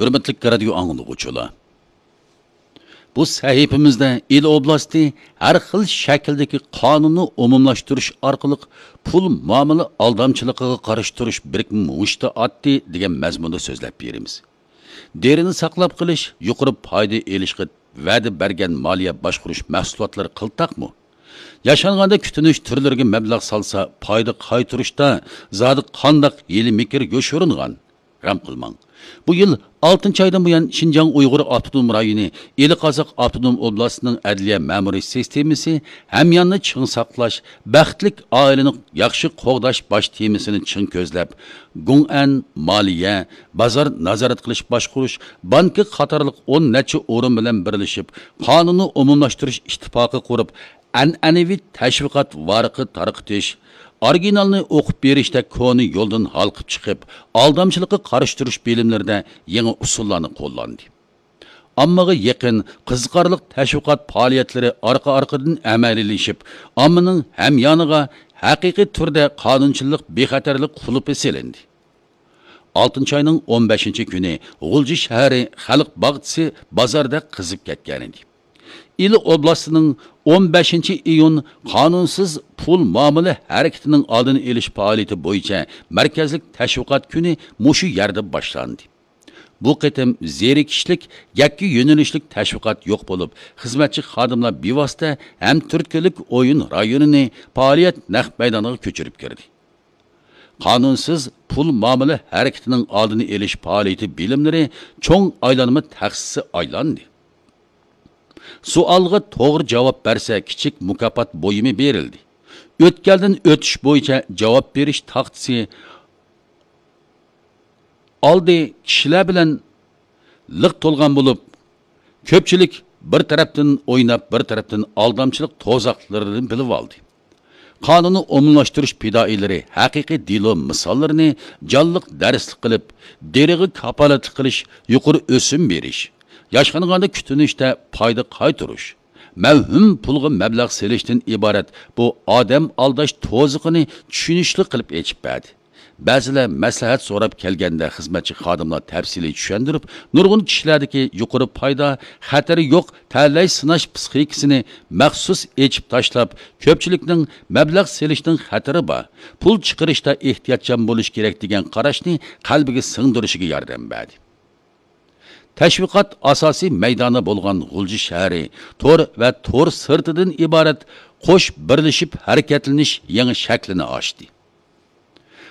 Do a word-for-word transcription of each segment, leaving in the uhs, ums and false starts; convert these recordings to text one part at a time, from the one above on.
ھۆرمەتلىك رادىيو ئاڭلىغۇچىلار! بۇ سەھىپىمىزدە ئىلى ئوبلاستى ھەر خىل شەكىلدىكى قانۇننى ئومۇملاشتۇرۇش ئارقىلىق پۇل مۇئامىلە ئالدامچىلىقىغا قارشى تۇرۇش بىرىكمە مۇشتى ئاتتى دېگەن مەزمۇندا سۆزلەپ بېرىمىز. دېرىنى ساقلاپ قېلىش، يۇقىرى پايدا ئېلىشقا ۋەدە بەرگەن مالىيە باشقۇرۇش مەھسۇلاتلىرى قىلتاقمۇ؟ ياشانغاندا كۈتۈنۈش تۈرلىرىگە مەبلەغ سالسا، پايدا قايتۇرۇشتا زادى قانداق ھىيلە-مىكىر يوشۇرۇنغان؟ غەم قىلماڭ. بۇ يىل ئالتىنچى ئايدىن بۇيان، شىنجاڭ ئۇيغۇر ئاپتونوم رايونى، ئىلى قازاق ئاپتونوم ئوبلاستىنىڭ ئەدلىيە مەمۇرىي سىستېمىسى ھەمياننى چىڭ ساقلاش، بەختلىك ئائىلىنى ياخشى قوغداش باش تېمىسىنى چىڭ كۆزلەپ، گۇڭئەن، مالىيە، بازار نازارەت قىلىش باشقۇرۇش، بانكا قاتارلىق ئون نەچچە ئورۇن بىلەن بىرلىشىپ، قانۇننى ئومۇملاشتۇرۇش ئىتتىپاقى قۇرۇپ، ئەنئەنىۋى تەشۋىقات ۋارىقى تارقىتىش، ئورىگىنالنى ئوقۇپ بېرىشتەك كونا يولدىن ھالقىپ چىقىپ، ئالدامچىلىققا قارشى تۇرۇش بىلىملىرىدە يېڭى ئۇسۇللارنى قوللاندى. ئاممىغا يېقىن، قىزىقارلىق تەشۋىقات پائالىيەتلىرى ئارقا-ئارقىدىن ئەمەلىيلىشىپ، ئاممىنىڭ ھەميانىغا ھەقىقىي تۈردە قانۇنچىلىق بىخەتەرلىك قۇلۇپى سېلىندى. ئالتىنچى ئاينىڭ ئون بەشىنچى كۈنى غۇلجا شەھىرى خەلق باغچىسى بازاردەك قىزىپ كەتكەنىدى. ئىلى ئوبلاستىنىڭ ئون بەشىنچى ئىيۇن قانۇنسىز پۇل مۇئامىلە ھەرىكىتىنىڭ ئالدىنى ئېلىش پائالىيىتى بويىچە مەركەزلىك تەشۋىقات كۈنى مۇشۇ يەردە باشلاندى. بۇ قېتىم زېرىكىشلىك، يەككە يۆنىلىشلىك تەشۋىقات يوق بولۇپ، خىزمەتچى خادىملار بىۋاسىتە ھەم تۈرتكىلىك ئويۇن رايونىنى پائالىيەت نەق مەيدانىغا كۆچۈرۈپ كىردى. قانۇنسىز پۇل مۇئامىلە ھەرىكىتىنىڭ ئالدىنى ئېلىش پائالىيىتى بىلىملىرى چوڭ ئايلانما تەخسىسى ئايلاندى. سوئالغا توغرا جاۋاب بەرسە، كىچىك مۇكاپات بۇيۇمى بېرىلدى. ئۆتكەلدىن ئۆتۈش بويىچە جاۋاب بېرىش تاختىسى ئالدى كىشىلەر بىلەن لىق تولغان بولۇپ، كۆپچىلىك بىر تەرەپتىن ئويناپ، بىر تەرەپتىن ئالدامچىلىق توزاقلىرىنى بىلىۋالدى. قانۇننى ئومۇملاشتۇرۇش پىدائىيلىرى ھەقىقىي دېلو مىساللىرىنى جانلىق دەرسلىك قىلىپ، دېرىغا كاپالەتلىك قىلىش، يۇقىرى ئۆسۈم بېرىش، ياشانغاندا كۈتۈنۈشتە پايدا قايتۇرۇش، مەۋھۇم پۇلغا مەبلەغ سېلىشتىن ئىبارەت بۇ ئادەم ئالداش توزىقىنى چۈشىنىشلىك قىلىپ ئېچىپ بەردى. بەزىلەر مەسلىھەت سوراپ كەلگەندە، خىزمەتچى خادىملار تەپسىلىي چۈشەندۈرۈپ، نۇرغۇن كىشىلەردىكى يۇقىرى پايدا، خەتىرى يوق تەلەي سىناش پىسخىكىسىنى مەخسۇس ئېچىپ تاشلاپ، كۆپچىلىكنىڭ مەبلەغ سېلىشنىڭ خەتىرى بار، پۇل چىقىرىشتا ئېھتىياتچان بولۇش كېرەك دېگەن قاراشنى قەلبىگە سىڭدۈرۈشىگە ياردەم بەردى. تەشۋىقات ئاساسىي مەيدانى بولغان غۇلجا شەھىرى تور ۋە تور سىرتىدىن ئىبارەت قوش بىرلىشىپ ھەرىكەتلىنىش يېڭى شەكلىنى ئاچتى.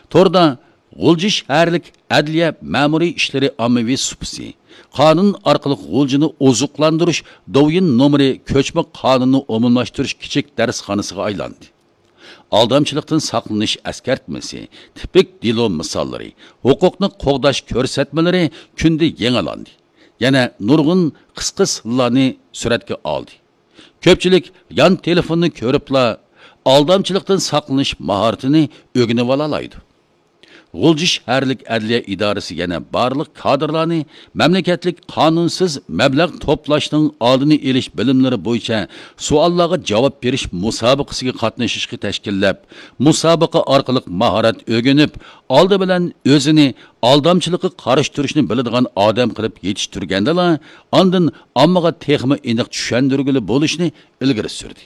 توردا غۇلجا شەھەرلىك ئەدلىيە مەمۇرىي ئىشلىرى ئاممىۋى سۇپىسى، قانۇن ئارقىلىق غۇلجىنى ئوزۇقلاندۇرۇش دوۋيىن نومۇرى كۆچمە قانۇننى ئومۇملاشتۇرۇش كىچىك دەرسخانىسىغا ئايلاندى. ئالدامچىلىقتىن ساقلىنىش ئەسكەرتمىسى، تىپىك دېلو مىساللىرى، ھوقۇقنى قوغداش كۆرسەتمىلىرى كۈندە يېڭىلاندى. يەنە نۇرغۇن قىسقا سىنلارنى سۈرەتكە ئالدى. كۆپچىلىك يان تېلېفوننى كۆرۈپلا ئالدامچىلىقتىن ساقلىنىش ماھارىتىنى ئۆگىنىۋالالايدۇ. غۇلجا شەھەرلىك ئەدلىيە ئىدارىسى يەنە بارلىق كادىرلارنى مەملىكەتلىك قانۇنسىز مەبلەغ توپلاشنىڭ ئالدىنى ئېلىش بىلىملىرى بويىچە سوئاللارغا جاۋاب بېرىش مۇسابىقىسىگە قاتنىشىشقا تەشكىللەپ، مۇسابىقە ئارقىلىق ماھارەت ئۆگىنىپ، ئالدى بىلەن ئۆزىنى ئالدامچىلىققا قارشى تۇرۇشنى بىلىدىغان ئادەم قىلىپ يېتىشتۈرگەندىلا، ئاندىن ئاممىغا تېخىمۇ ئېنىق چۈشەندۈرگىلى بولۇشنى ئىلگىرى سۈردى.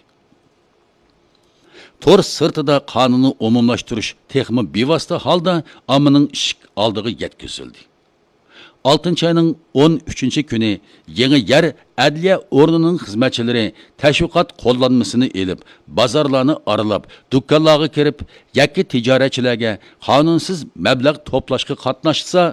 تور سىرتىدا قانۇننى ئومۇملاشتۇرۇش تېخىمۇ بىۋاسىتە ھالدا ئاممىنىڭ ئىشىك ئالدىغا يەتكۈزۈلدى. ئالتىنچى ئاينىڭ ئون ئۈچىنچى كۈنى يېڭى يەر ئەدلىيە ئورنىنىڭ خىزمەتچىلىرى تەشۋىقات قوللانمىسىنى ئېلىپ، بازارلارنى ئارىلاپ، دۇكانلارغا كىرىپ، يەككە تىجارەتچىلەرگە قانۇنسىز مەبلەغ توپلاشقا قاتناشسا،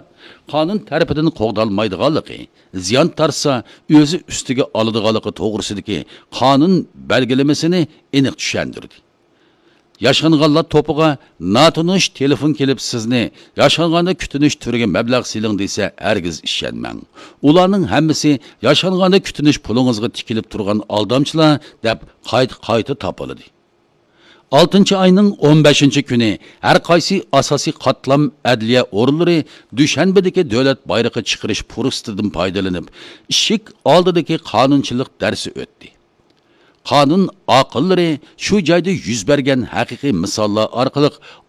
قانۇن تەرىپىدىن قوغدالمايدىغانلىقى، زىيان تارتسا، ئۆزى ئۈستىگە ئالىدىغانلىقى توغرىسىدىكى قانۇن بەلگىلىمىسىنى ئېنىق چۈشەندۈردى. ياشانغانلار توپىغا ناتونۇش تېلېفون كېلىپ، سىزنى ياشانغاندا كۈتۈنۈش تۈرىگە مەبلەغ سېلىڭ دېسە، ھەرگىز ئىشەنمەڭ. ئۇلارنىڭ ھەممىسى ياشانغاندا كۈتۈنۈش پۇلىڭىزغا تىكىلىپ تۇرغان ئالدامچىلار، دەپ قايتا-قايتا تاپىلىدى. ئالتىنچى ئاينىڭ ئون بەشىنچى كۈنى ھەر قايسى ئاساسىي قاتلام ئەدلىيە ئورۇنلىرى دۈشەنبىدىكى دۆلەت بايرىقى چىقىرىش پۇرسىتىدىن پايدىلىنىپ، ئىشىك ئالدىدىكى قانۇنچىلىق دەرسى ئۆتتى. قانۇن ئاقىللىرى شۇ جايدا يۈز بەرگەن ھەقىقىي مىساللار ئارقىلىق